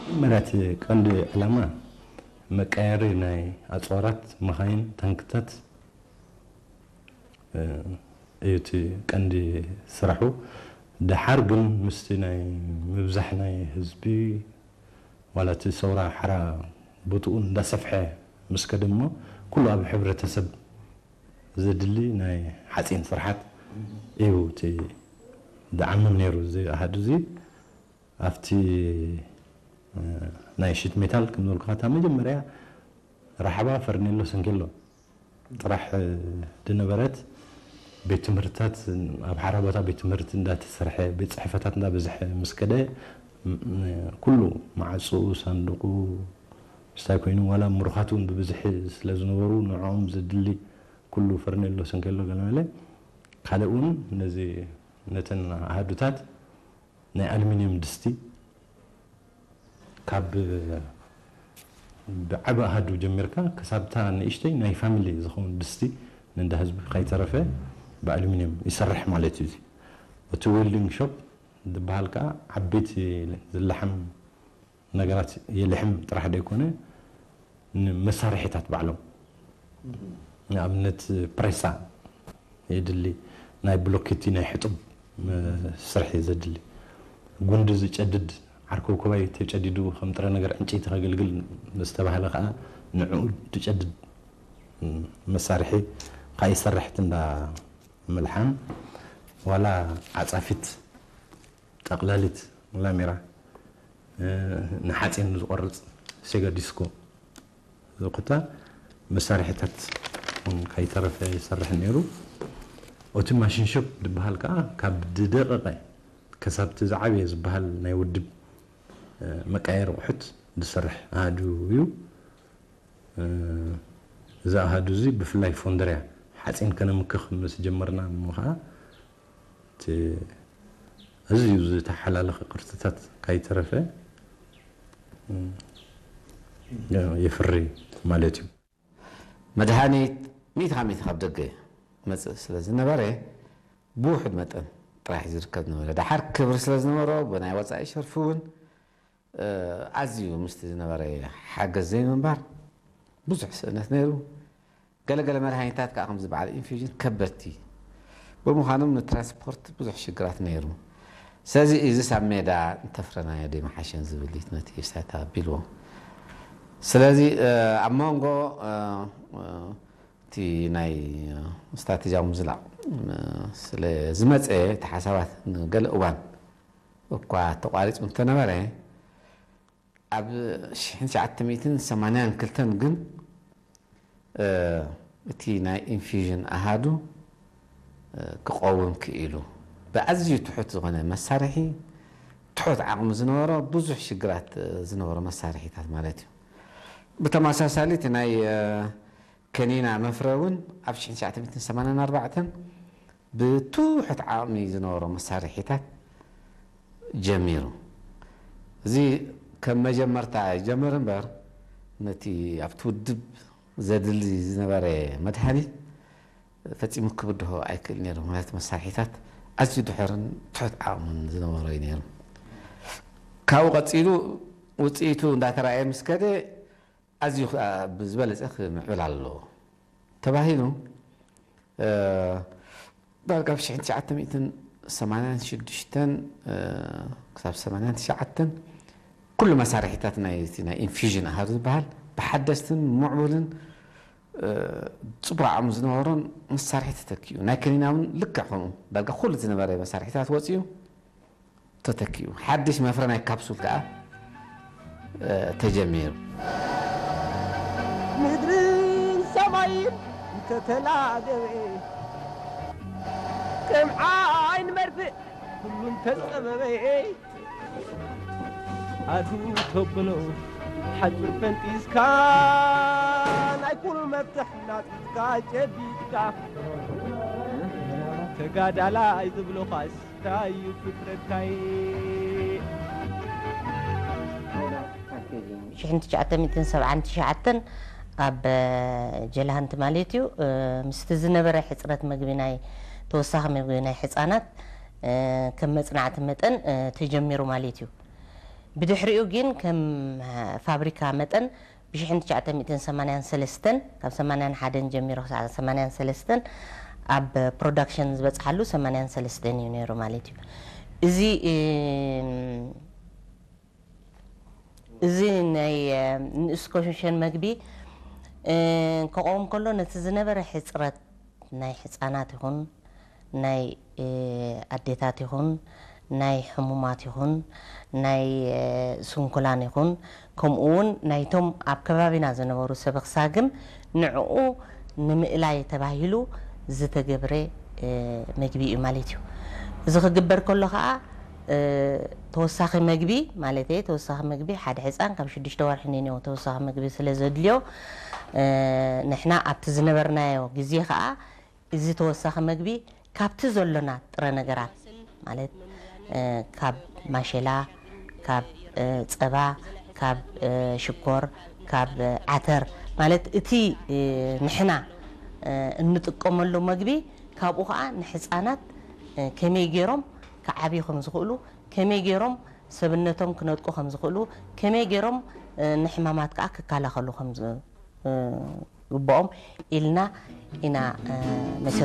መጀመርያ እቲ ቀንዲ ዕላማ መቀየሪ ናይ ኣፅዋራት፣ መኻይን፣ ታንክታት፣ እ፣ እዩ እቲ ቀንዲ ስራሑ። ደሓር ግን ምስቲ ናይ ምብዛሕ ናይ ህዝቢ ዋላ እቲ ሰውራ ሓራ ቦትኡ እንዳሰፍሐ ምስ ከደ እሞ ኩሉ ኣብ ሕብረተሰብ ዘድሊ ናይ ሓፂን ስርሓት እዩ እቲ ዝዓምም ነይሩ። እዚ ኣሃዱ እዚ ኣብቲ፣ እ፣ ናይ ሽት ሜታል ከም ዝበልኩኻ እታ መጀመርያ ራሕባ ፈርኔሎ ሰንኬሎ ጥራሕ፣ እ፣ ዝነበረት ቤት ትምህርትታት ኣብ ሓራ ቦታ ቤት ትምህርቲ እንዳተሰርሐ ቤት ፅሕፈታት እንዳበዝሐ ምስ ከደ ም-፣ ኩሉ መዓፅኡ ሳንዱቁ ምስታይ ኮይኑ ዋላ ምሩኻት እውን ብብዝሒ ስለ ዝነበሩ ንዕኦም ዘድሊ ኩሉ ፈርኔሎ ሰንኬሎ ገለመለ ካልእ እውን ነዚ ነተን ኣሃዱታት ናይ ኣሉሚንየም ድስቲ ካብ ብዓቢ ኣሃዱ ጀሚርካ ክሳብታ ንእሽተይ ናይ ፋሚሊ ዝኸውን ድስቲ ንእንዳ ህዝቢ ከይተረፈ ብኣሉሚንየም ይሰርሕ ማለት እዩ። እዚ እቲ ዌልዲንግ ሾፕ ዝበሃል ከዓ ዓበይቲ ዝለሓም ነገራት የልሕም ጥራሕ ዘይኮነ ንመሳርሒታት ባዕሎም ንኣብነት ፕሬሳ የድሊ፣ ናይ ብሎኬቲ ናይ ሕጡብ ስርሒ ዘድሊ፣ ጉንዲ ዝጨድድ ዓርከውከባይ ተጨዲዱ ከም ጥረ ነገር ዕንጨይቲ ከገልግል ዝተባህለ ከዓ ንዕኡ ዝጨድድ መሳርሒ ከይሰርሕት እንዳ ምልሓም ዋላ ዓፃፊት ጠቕላሊት ላሜራ ንሓፂን ዝቆርፅ ሴጋ ዲስኮ ዝኩታ መሳርሒታት እውን ከይተረፈ ይሰርሕ ነይሩ። እቲ ማሽን ሾፕ ዝበሃል ከዓ ካብ ዝደቐቐ ከሳብቲ ዝዓበየ ዝበሃል ናይ ውድብ መቃየሪ ኣቑሑት ዝሰርሕ ኣሃዱ እዩ። እዚ ኣሃዱ እዚ ብፍላይ ፎንደርያ ሓፂን ከነምክኽ ምስ ጀመርና እሞ ከዓ እቲ ኣዝዩ ዝተሓላለኸ ቅርፅታት ካይተረፈ የፍሪ ማለት እዩ። መድሃኒት ሚእቲ ካብ ሚእቲ ካብ ደገ መፅእ ስለ ዝነበረ ብውሑድ መጠን ጥራሕ ዝርከብ ዝነበረ። ደሓር ክብሪ ስለ ዝነበሮ ብናይ ወፃኢ ሸርፊ እውን ኣዝዩ ምስቲ ዝነበረ ሓገዝ ዘይምንባር ብዙሕ ስእነት ነይሩ። ገለገለ መድሃኒታት ከዓ ከምዚ በዓል ኢንፊውዥን ከበድቲ ብምዃኖም ንትራንስፖርት ብዙሕ ሽግራት ነይሩ። ስለዚ እዚስ ኣብ ሜዳ እንተፍረናዮ ዶ ይመሓሸን ዝብል እዩ ነቲ ስታታ ኣቢልዎ። ስለዚ ኣብ መንጎ እቲ ናይ ስትራተጂያዊ ምዝላቕ ስለ ዝመፀ እቲ ሓሳባት ንገለ እዋን እኳ ተቋሪፁ እንተነበረ ኣብ ሽሕን ትሽዓተ ሚእትን ሰማንያን ክልተን ግን እቲ ናይ ኢንፊውዥን ኣሃዱ ክቐውም ክኢሉ። ብኣዝዩ ትሑት ዝኾነ መሳርሒ ትሑት ዓቕሚ ዝነበሮ ብዙሕ ሽግራት ዝነበሮ መሳርሒታት ማለት እዩ። ብተመሳሳሊ እቲ ናይ ከኒና መፍረ እውን ኣብ ሽሕን ትሽዓተ ሚእትን ሰማንያን ኣርባዕተን ብትሑት ዓቕሚ ዝነበሮ መሳርሒታት ጀሚሩ። እዚ ከም መጀመርታ ይጀምር እምበር ነቲ ኣብቲ ውድብ ዘድሊ ዝነበረ መድሃኒት ፈጺሙ ክብድሆ ኣይክእል ነይሩ። ምክንያቱ መሳርሒታት ኣዝዩ ድሑርን ትሑት ዓቕምን ዝነበሮ እዩ ነይሩ። ካብኡ ቀጺሉ ውፅኢቱ እንዳተረኣየ ምስ ከደ ኣዝዩ ብዝበለፀ ክምዕብል ኣለዎ ተባሂሉ ዳርጋ ኣብ ሽሕን ትሽዓተ ሚእትን ሰማንያን ሽዱሽተን ክሳብ ሰማንያን ትሽዓተን ኩሉ መሳርሒታት ናይ ናይ ኢንፊዥን ኣሃዱ ዝበሃል ብሓደስትን ምዕቡልን ፅቡቅ ዓቕሚ ዝነበሮን መሳርሒ ተተኪኡ። ናይ ከኒና እውን ልክዕ ከምኡ ዳርጋ ኩሉ ዝነበረ መሳርሒታት ወፂኡ ተተኪኡ። ሓድሽ መፍረ ናይ ካፕሱል ከዓ ተጀሚሩ። ምድርን ሰማይን እንተተላገበ ከም ዓይን መርፍእ ኩሉ እንተጸበበ ኣዱ ተብሎ ሓጹር ፈንጢስካ ናይ ኩሉ መፍትሕ ናጢጥካ ጨቢጥካ ተጋዳላይ ዝብሎኻስ እንታይ እዩ ፍጥረትካይ? ሽሕን ትሽዓተ ሚእትን ሰብዓን ትሽዓተን ኣብ ጀልሃንቲ ማለት እዩ ምስቲ ዝነበረ ሕፅረት ምግቢ ናይ ተወሳኺ ምግቢ ናይ ሕፃናት ከም መፅናዕቲ መጠን ተጀሚሩ ማለት እዩ። ብድሕሪኡ ግን ከም ፋብሪካ መጠን ብ ትሽዓተ ሚእትን ሰማንያን ሰለስተን ካብ ሰማንያን ሓደን ጀሚሩ ክሳዕ ሰማንያን ሰለስተን ኣብ ፕሮዳክሽን ዝበፅሓሉ ሰማንያን ሰለስተን እዩ ነይሩ ማለት እዩ። እዚ እዚ ናይ ንእስ ኮሸን መግቢ ክቐውም ከሎ ነቲ ዝነበረ ሕፅረት ናይ ሕፃናት ይኹን ናይ ኣዴታት ይኹን ናይ ሕሙማት ይኹን ናይ ስንኩላን ይኹን ከምኡ እውን ናይቶም ኣብ ከባቢና ዝነበሩ ሰበኽ ሳግም ንዕኡ ንምእላይ ተባሂሉ ዝተገብረ መግቢ እዩ ማለት እዩ። እዚ ክግበር ከሎ ከዓ ተወሳኺ መግቢ ማለት ተወሳኺ መግቢ ሓደ ሕፃን ካብ ሽዱሽተ ወርሒ ንንዮ ተወሳኺ መግቢ ስለ ዘድልዮ ንሕና ኣብቲ ዝነበርናዮ ግዜ ከዓ እዚ ተወሳኺ መግቢ ካብቲ ዘሎና ጥረ ነገራት ማለት ካብ ማሸላ፣ ካብ ጸባ፣ ካብ ሽኮር፣ ካብ ዓተር ማለት እቲ ንሕና እንጥቀመሉ መግቢ ካብኡ ከዓ ንሕፃናት ከመይ ገይሮም ክዓብዩ ከም ዝኽእሉ፣ ከመይ ገይሮም ሰብነቶም ክነጥቁ ከም ዝኽእሉ፣ ከመይ ገይሮም ንሕማማት ከዓ ክከላኸሉ ከም ዝግብኦም ኢልና ኢና መሰረት